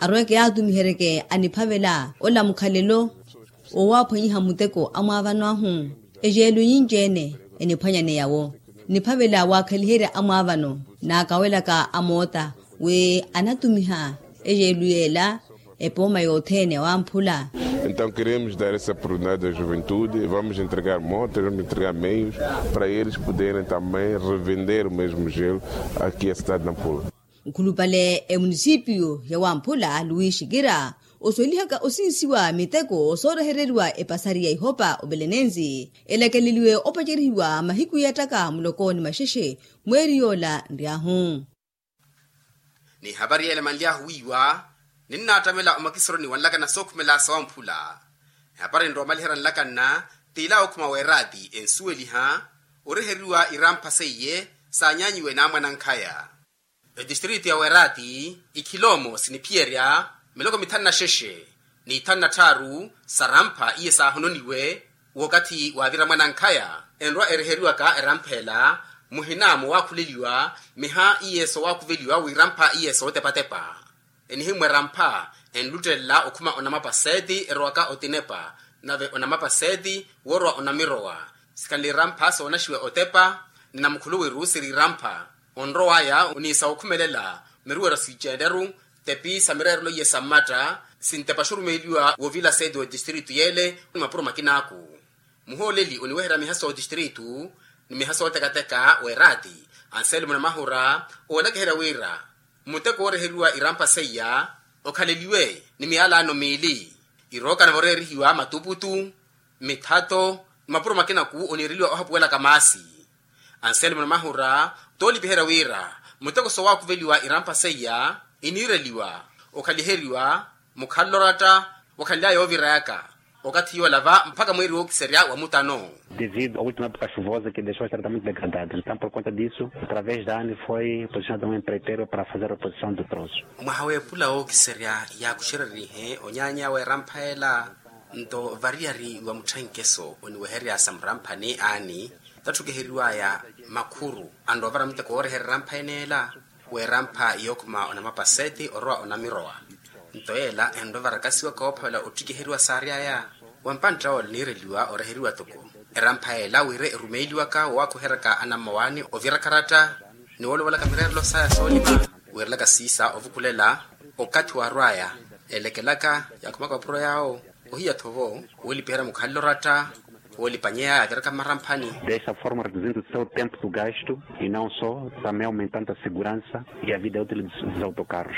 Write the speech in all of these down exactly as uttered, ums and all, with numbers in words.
arweke yaatumiheryeke aniphavela ola mukhalelo. Owaaphwanyiha muteko amwaavano ahu ejeelo nyinci-ene eniphwanyaneya-wo. Niphavela waakhaliherya amwaavano naakawelaka amoota wi anatumiha ejeelo yeela epooma yothene wamphula. Entaw keremos dar essa oportunidade da juventude vamos entregar motas vamos entregar meios para eles poderem também revender o mesmo gelo aqui a cidade de nampula. Nkhulupale emunisipiyu ya wamphula luwi xikira oswelihaka osinsiwa miteko soorehereriwa epasari ya ihopa obelenenzi elakeleliwe opacerihiwa mahiku yattaka muloko ni maxexe mweeri yoola nryahu. Ni ehapari yeela emanly'ahu wiiwa ninnaattamela omakisoroni wa nlakanna sookhumela sa wamphula. Ehapari nrowa omaliherya nlakanna t'ila okhuma w'eraati ensuweliha oreheriwa irampha seiye saanyanyiwe n'amwanankhaya. Etistritu ya weraati ikhiloomo siniphiyerya miloko mithanu na xexe n'ithanu na tthaaru sarampha iye saahononiwe. Wookathi waavira mwanankhaya enrwa ereheriwaka erampha ela muhina mowaakhuleliwa miha iye soowaakuveliwa wirampha iye sootepatepa. Enihimwa erampha enluttelela okhuma onamapa seeti erowaka otinepa nave onamapa seeti woorwa onamirowa. Sikhanle irampha soonaxiwa otepa ni namukhuluwiru siri irampha onrow'aya oniisa wokhumelela miruwero siiceene-ru tepi sa mireerelo iye sa mmatta sintepa xurumeeliwa woovila seeti w'etistritu yeele ni mapuro makinaku. Muhooleli oniweherya miha sootistiritu ni miha sootekateka w'eraati anselmo namahura oolakiherya wira muteko wooreheriwa irampha seiya okhaleliwe ni miyalano miili irooka nave oreerihiwa matuputu mithato ni mapuro makinaku oniireliwa ohapuwelaka maasi. Anselmo namahura toolipiherya wira muteko soowaakuveliwa irampha seiya iniireliwa okhaliheriwa mukhalelo oratta wakhanly'aya yoovirayaka okathi yoola va mpakha mweeri wookiserya wa mutano. Devido a última época chuvosa que deixou a estrada muito degradada entaw por conta disso através da ani foi posicionado um empreiteiro para fazer a reposição do troço. Mwaha w'epula wookiserya yaakuxererihe onyaanya w'erampha ela nto variyari wa mutthenkeso oniweherya sa muramphani ani tatthukiheriw'aya makhuru anrowa ovara muteko wooreherya erampha eneela w'erampha yookhuma onamapaseti orowa onamirowa. Nto yeela enrowa varakasiwaka woophavela ottikiheriwa saary'aya wa mpantta ola oniireliwa oreheriwa toko erampha yeela wira erumeeliwaka woowakuheryaka anammawaani ovira karatta ni woolovelaka mireerelo saya soolima wiirelaka siisa ovukulela okathi waarw'aya elekelaka yaakhumaka mapuro yaawo ohiya-tho vo woolipiherya mukhalelo oratta woolipanyeya yaaviraka mmaramphani. Desta forma reduzindo o seu tempo do gasto e não só também aumentando a segurança e a vida útil dos autocarros.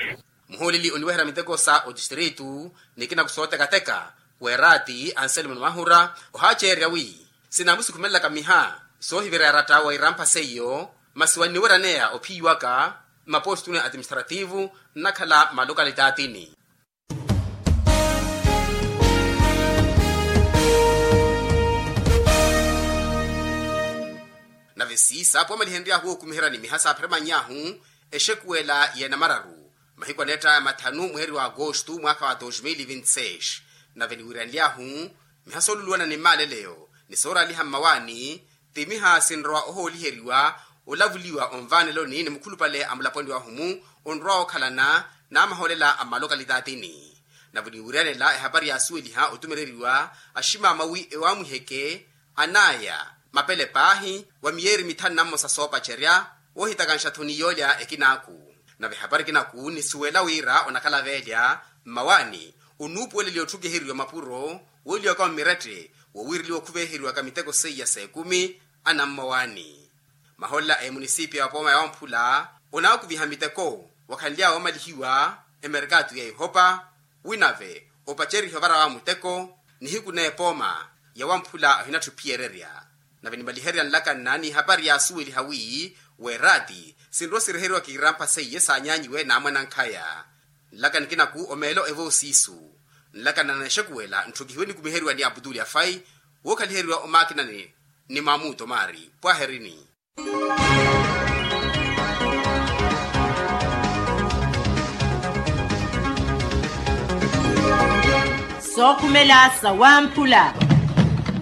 Muhooleli oniweherya miteko sa otistiritu ni kinaku sootekateka w'eraati anselmo namahura ohaaceererya wi sinaamusikhumelelaka miha soohivira eratta wa irampha seiyo masi wanniweraneya ophiyiwaka mmaposituni administrativu nnakhala mmalokalitaathini. Nave siisa poomaliheniry'ahu wookumiherya ni miha saapheremanny'ahu exekuwela y'enamararu mahiku aneett'aya mathanu mweeri wa agosto mwaakha wa dos mil vinti seis. Nave niwiiranly'ahu miha sooluluwana ni mmaaleleyo ni sooraaliha mmawaani ti miha sinrowa ohooliheriwa olavuliwa onvaaneloni ni mukhulupale a mulaponi wahu-mu onrowa okhalana n'amahoolela a mmalokalitaathini. Nave oniwiiranela ehapari yaasuweliha otumereriwa aximaama wi ewaamwiheke an'aya mapele paahi wa miyeeri mithanu na mmosa soopacerya woohitakanxa-tho ni yoolya ekinaaku. Nave ehapari ekinaku nisuwela wira onakhala veelya mmawaani onuupuweleliwa otthukiheriwa mapuro wooliwaka mmirette wowiireliwa okhuveeheriwaka miteko seiya s'ekumi anammawaani. Mahoolela a emunisipiya wa pooma ya wamphula onaakuviha miteko wakhanly'awe oomalihiwa emerkaatu ya ihopa wi nave opacerihe ovara wa muteko nihiku n'epooma ya wamphula ohinatthi ophiyererya. Nave nimaliherya nlakanna n'ihapari yaasuweliha wi w'eraati sinrowa siriheriwaka irampha seiye saanyanyiwe n'amwanankhaya. Nlaka nikinaku omeelo evoosiisu nlakanna na exekuwela ntthukihiwe nikumiheryiwa ni aputuli afai wookhaliheriwa omaakinani ni maamuto maari pwaherini. Sookhumela sa wamphula.